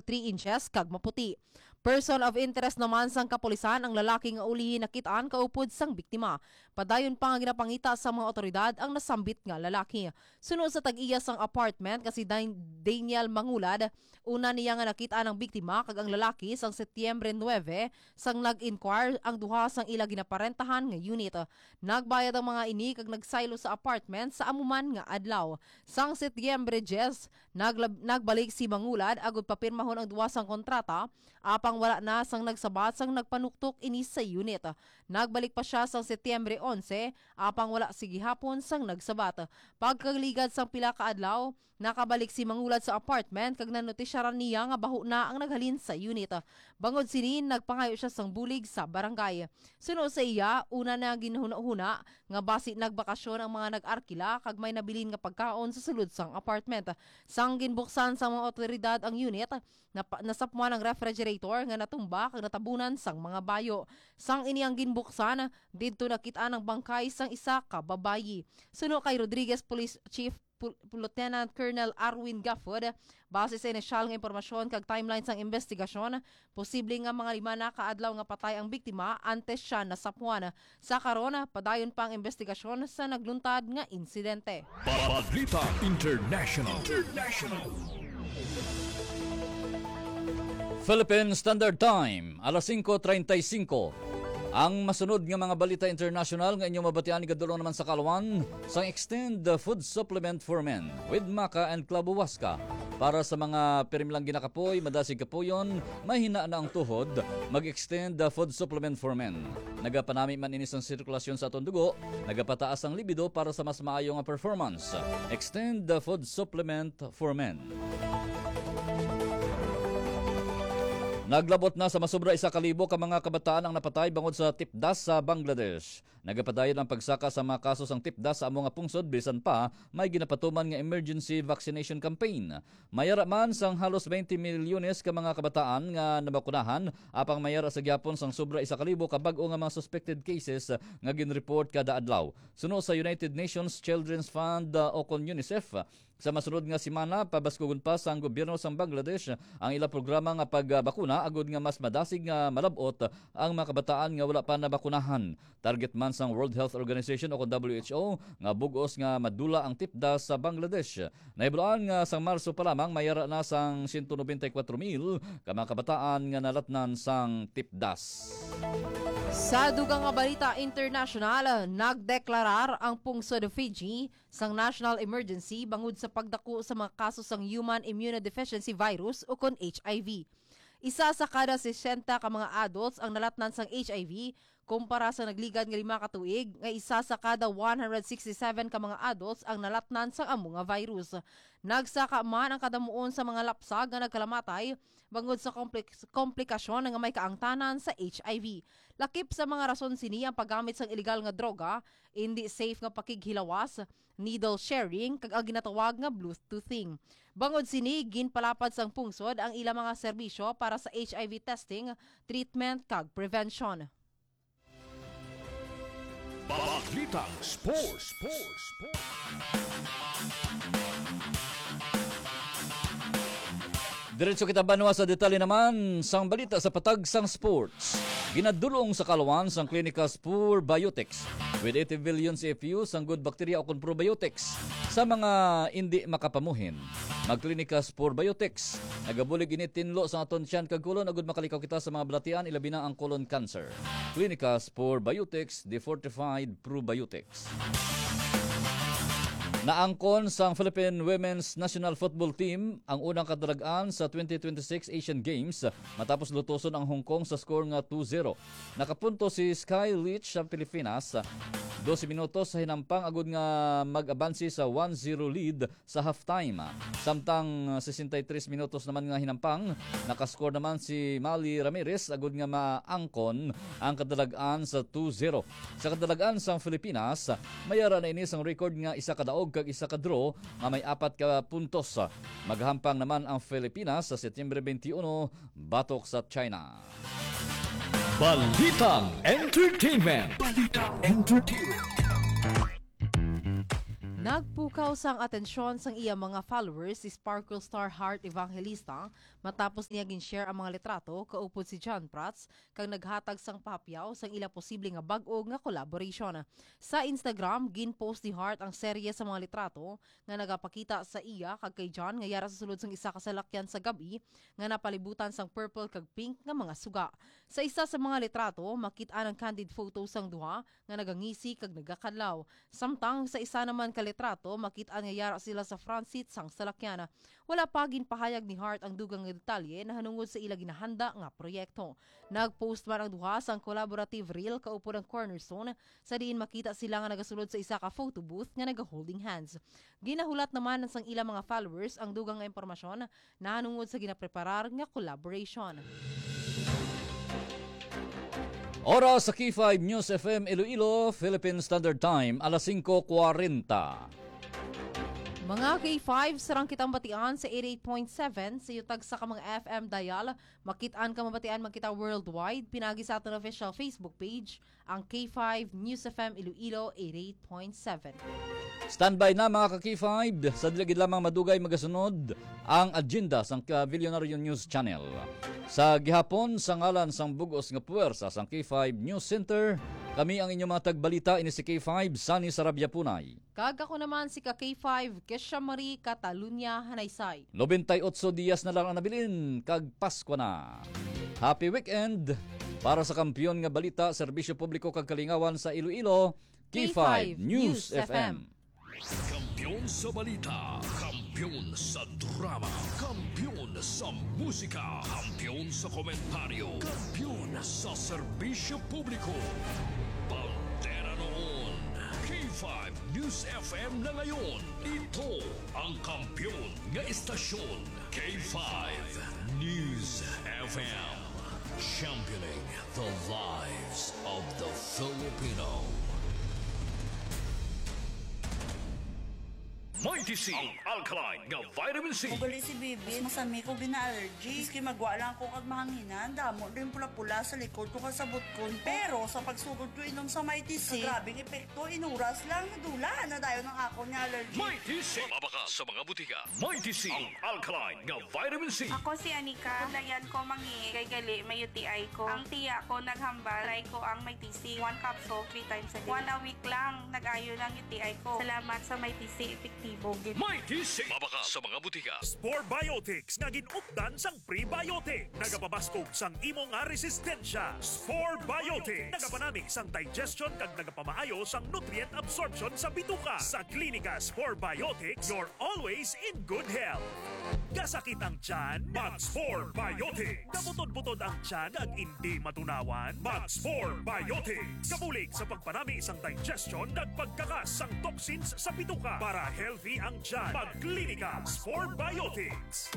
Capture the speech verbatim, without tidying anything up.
three inches kag maputi. Person of interest naman sang kapulisan ang lalaki nga ulihi nakit-an kaupod sang biktima. Padayon pa nga ginapangita sa mga otoridad ang nasambit nga lalaki. Suno sa tag-iya sang apartment nga si Dan-, Daniel Mangulad, una niya nga nakit-an ang biktima kag ang lalaki sang Setyembre nuebe, sang nag-inquire ang duha sang ila ginaparentahan nga unit. Nagbayad ang mga ini kag nagsaylo sa apartment sa amo man nga adlaw. Sang Setyembre diyes, naglab-, nagbalik si Mangulad agud papirmahon ang duha sang kontrata, apang wala na sang nagsabat sang nagpanuktok ini sa unit. Nagbalik pa sia sang Setyembre onse, apang wala sa gihapon sang nagsabat. Pagkaligad sang pila ka adlaw, nakabalik si Mangulad sa apartment kag nanotisyaran niya nga baho na ang naghalin sa unit. Bangod sini, nagpangayo sia sang bulig sa barangay. Suno sa iya, una na ginhunahuna nga basi nagbakasyon ang mga nag-arkila kag may nabilin nga pagkaon sa sulod sang apartment. Sang ginbuksan sang mga otoridad ang unit, napa-, nasapwan ang refrigerator nga natumba kag natabunan sang mga bayo. Sang ini ang ginbuksan, didto nakit-an ang bangkay sang isa ka babayi. Suno kay Rodriguez Police Chief Pul-, Lieutenant Colonel Arwin Gafford, base sa inisyal nga impormasyon kag timeline sang investigasyon, posible nga mga lima na ka adlaw nga patay ang biktima antes siya nasapwan. Sa karon, padayon pa ang investigasyon sa nagluntad nga insidente. Balita International. International. Philippine Standard Time, alas singko treinta y cinco. Ang masunod nga mga balita international nga inyo mabatian igadulong naman sa kalwan sang Extend the Food Supplement for Men with Maca and Club Huasca. Para sa mga pirmi lang ginakapoy, madasig kapuyon, mahina na ang tuhod, mag-Extend the Food Supplement for Men. Nagapanami man ini sang sirkulasyon sa aton dugo, nagapataas ang libido para sa mas maayo nga performance. Extend the Food Supplement for Men. Naglabot na sa masobra isa ka libo ka mga kabataan ang napatay bangod sa tipdas sa Bangladesh. Nagapadayon ang pagsaka sa mga kaso sang tipdas sa amo nga pungsod, bisan pa may ginapatuman nga emergency vaccination campaign. Mayara man sang halos twenty milyones ka mga kabataan nga nabakunahan, apang mayara sa gihapon sang sobra isa ka libo ka bag-o nga mga suspected cases nga ginreport kada adlaw. Suno sa United Nations Children's Fund, uh, o kon UNICEF, sa masunod nga semana, pabaskugon pa sang gobyerno sang Bangladesh ang ila programa nga pagbakuna agud nga mas madasig nga malab-ot ang mga kabataan nga wala pa nabakunahan. Target man sang World Health Organization o kon W H O nga bug-os nga madula ang tipdas sa Bangladesh. Nahibaluan nga sang Marso pa lamang, mayara na sang siyento nobenta y kuwatro mil ka mga kabataan nga nalatnan sang tipdas. Sa dugang nga balita internasyonal, nagdeklarar ang pungsod Fiji sang national emergency bangod sa pagdako sa mga kaso sang human immunodeficiency virus o kon H I V. Isa sa kada sesenta ka mga adults ang nalatnan sang H I V, kumpara sa nagligad nga lima ka tuig nga isa sa kada one hundred sixty-seven ka mga adults ang nalatnan sang amo nga virus. Nagsaka man ang kadamuon sa mga lapsag nga nagkalamatay bangod sa komplik-, komplikasyon nga may kaangtanan sa H I V. Lakip sa mga rason sini ang paggamit sang iligal nga droga, indi safe nga pakighilawas, needle sharing, kag ang ginatawag nga bluetoothing. Bangod sini, ginpalapad sang pungsod ang ila mga serbisyo para sa H I V testing, treatment, kag prevention. Balitang Sports. Diretso kita banwa sa detalye naman sang balita sa patag sang sports. Ginadulong sa kalwan sang Clinicas Probiotics with eighty billion C F U sang good bacteria o kon probiotics sa mga indi makapamuhin. Mag Clinicas Probiotics. Nagabulig ini tinlo sa aton tiyan kag kolon agud makalikaw kita sa mga balatian, ilabi na ang colon cancer. Clinicas Probiotics, the fortified probiotics. Naangkon sang Philippine Women's National Football Team ang unang kadalag-an sa twenty twenty-six Asian Games matapos lutoson ang Hong Kong sa score nga two zero. Nakapunto si Sky Leech sa Pilipinas, dose minutos sa hinampang agud nga mag-abansi sa one zero lead sa halftime. Samtang sesenta y tres minutos naman nga hinampang, nakascore naman si Mali Ramirez agud nga maangkon ang kadalag-an sa two zero. Sa kadalag-an sang Pilipinas, mayara na ini sang record nga isa ka daog kag isa ka draw nga may apat ka puntos. Maghampang naman ang Pilipinas sa Setyembre twenty-one batok sa China. Balitang Entertainment. Balitang Entertainment. Nagpukaw sang atensyon sang iya mga followers si Sparkle Star Heart Evangelista matapos niya gin-share ang mga litrato kaupod si John Prats kag naghatag sang pahapyaw sang ila posible nga bag-o nga collaboration. Sa Instagram, gin-post ni Heart ang serye sa mga litrato nga nagapakita sa iya kag kay John nga yara sa sulod sang isa ka salakyan sa gab-i nga napalibutan sang purple kag pink nga mga suga. Sa isa sa mga litrato, makit-an ang candid photo sang duha nga nagangisi kag nagakadlaw. Samtang sa isa naman ka litrato, makit-an nga yara sila sa front seat sang salakyan. Wala pa ginpahayag ni Heart ang dugang nga detalye nahanungod sa ila ginahanda nga proyekto. Nag-post man ang duha sang collaborative reel kaupod ang Cornerstone, sa diin makita sila nga nagasulod sa isa ka photo booth nga naga-holding hands. Ginahulat naman sang ila mga followers ang dugang nga impormasyon nahanungod sa ginapreparar nga collaboration. Oras sa K five News F M Iloilo, Philippine Standard Time, alas singko kwarenta. Mga K five, sarang kitang batian sa eighty-eight point seven sa iyo tagsa ka mga F M dial. Makit-an ka mabatian man kita worldwide, pinagi sa aton official Facebook page, ang K five News F M Iloilo eighty-eight point seven. Standby na, mga ka-K five. Sa dili gid lamang madugay, magasunod ang agenda sang Ka-Billionaire News Channel. Sa gihapon, sa ngalan sang bug-os nga puwersa sang K five News Center, kami ang inyong mga tagbalita, ini si K five, Sunny Sarabia Punay. Kag ako naman si ka-K five, Kesha Marie Catalunya Hanaysay. Nobenta y otso diyas na lang ang nabilin, kag Paskwa na. Happy weekend! Para sa Kampiyon nga Balita, Serbisyo Publiko kag Kalingawan sa Iloilo, K five News F M. Kampiyon sa balita, kampiyon sa drama, kampiyon sa musika, kampiyon sa komentaryo, kampiyon sa serbisyo publiko. Bandera noon, K five News F M na ngayon. Ito ang kampiyon nga istasyon, K five News F M. Championing the lives of the Filipino. Mighty C, ang alkaline nga vitamin C. Ugali si Bibi, masami ko gina-allergy. Maski magwa lang ko kag mahanginan, damo din pula-pula sa likod ko kag sa butkon ko. Pero sa pagsugod ko inom sa Mighty C, grabing epekto, inuras lang, nadula na dayon ang akon nga allergy. Mighty C, mabakal sa mga butika. Mighty C, ang alkaline nga vitamin C. Ako si Anika. Layan ko mangi kay gali may U T I ko. Ang tiya ko naghambal, try ko ang Mighty C. One capsule, three times a day. One a week lang, nag-ayo lang U T I ko. Salamat sa Mighty C, epektibo gid. Mighty C, mabakal sa mga butika. Spore Biotics nga gin-updan sang prebiotic. Nagapabaskog sang imo nga resistensya. Spore Biotics. Nagapanami sang digestion kag nagapamaayo sang nutrient absorption sa bituka. Sa Klinika Spore Biotics, you're always in good health. Kasakit ang tiyan? Mag-Spore Biotics. Kabutod-butod ang tiyan kag indi matunawan? Mag-Spore Biotics. Kabulig sa pagpanami sang digestion kag pagkakas sang toxins sa bituka. Para healthy ang tiyan, mag-Klinika Spore Biotics.